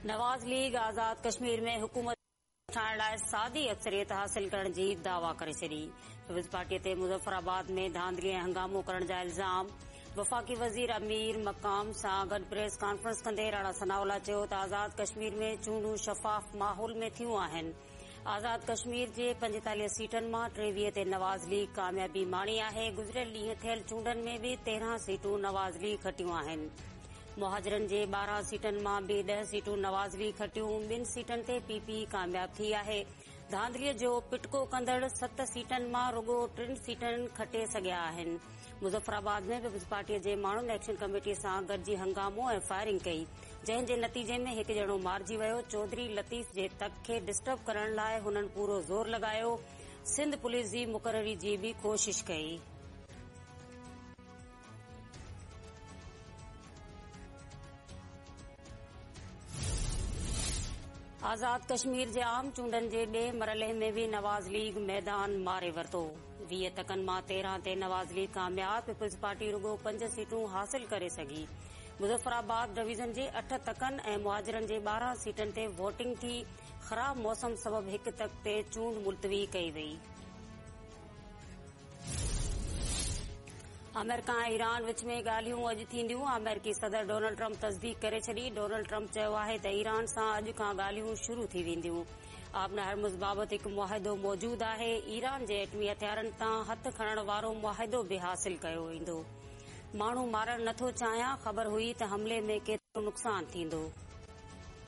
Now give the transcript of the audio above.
Nawaz league آزاد ڪشمير ۾ حڪومت ٺاهڻ لاء سادي اڪثريت حاصل ڪرڻ جي دعويٰ ڪري ڇڏي. پيپلز پارٽي تي مظفر آباد ۾ ڌانڌلي ۽ هنگامو ڪرڻ جا الزام. وفاقي وزير امير مقام سان گڏ پريس ڪانفرنس ڪندي راڻا ثناء الله چيو ته آزاد ڪشمير ۾ چونڊون شفاف ماحول ۾ ٿيون آهن. آزاد ڪشمير جي 45 سيٽن مان 23 تي نواز ليگ ڪاميابي ماڻي آهي. گذريل ڏينهن ٿيل چونڊن ۾ به 13 سيٽون نواز ليگ کٽيون آهن. مهاجرن جي 12 سيٽن مان به 10 سيٽون نواز ليگ کٽيون، ٻن سيٽن تي پي پي ڪامياب ٿي آهي. ڌانڌلي جو پٽڪو ڪندڙ ست سيٽن مان رڳو ٽن سيٽن کٽي سگهيا آهن. مظفر آباد ۾ پيپلز پارٽي جي ماڻهن ايڪشن ڪميٽي سان گڏجي هنگامو ۽ فائرنگ ڪئي، جنهن جي نتيجي ۾ هڪ ڄڻو مارجي ويو. چوڌري لطيف جي تڪ کي ڊسٽرب ڪرڻ لاء هنن پورو زور لڳايو، سنڌ پوليس جي مقرري جي به ڪوشش ڪئي. آزاد ڪشمير جي عام چونڊن جي ٻئي مرحلي ۾ به نواز ليگ ميدان ماري ورتو. 20 تڪن مان 13 تي نواز ليگ ڪامياب، پيپلز پارٽي رڳو پنج سيٽون حاصل ڪري سگهي. مظفر آباد ڊويزن جي اٺ تڪن ۽ مهاجرن جي 12 سيٽن تي ووٽنگ ٿي، خراب موسم سبب هڪ تڪ تي چونڊ ملتوي ڪئي وئي. آمريڪا ۽ ايران وچ ۾ ڳالهيون اڄ ٿينديون، آمريڪي صدر ڊونلڊ ٽرمپ تصديق ڪري ڇڏي، ڊونلڊ ٽرمپ چيو آهي ته ايران سان اڄ کان ڳالهيون شروع ٿي وينديون، آبناء هرمز بابت هڪ معاهدو موجود آهي، ايران جي ايٽمي هٿيارن تان هٿ کڻڻ وارو معاهدو به حاصل ڪيو ويندو، ماڻهو مارڻ نٿو چاهيان، خبر هئي ته حملي ۾ ڪيترو نقصان ٿيندو.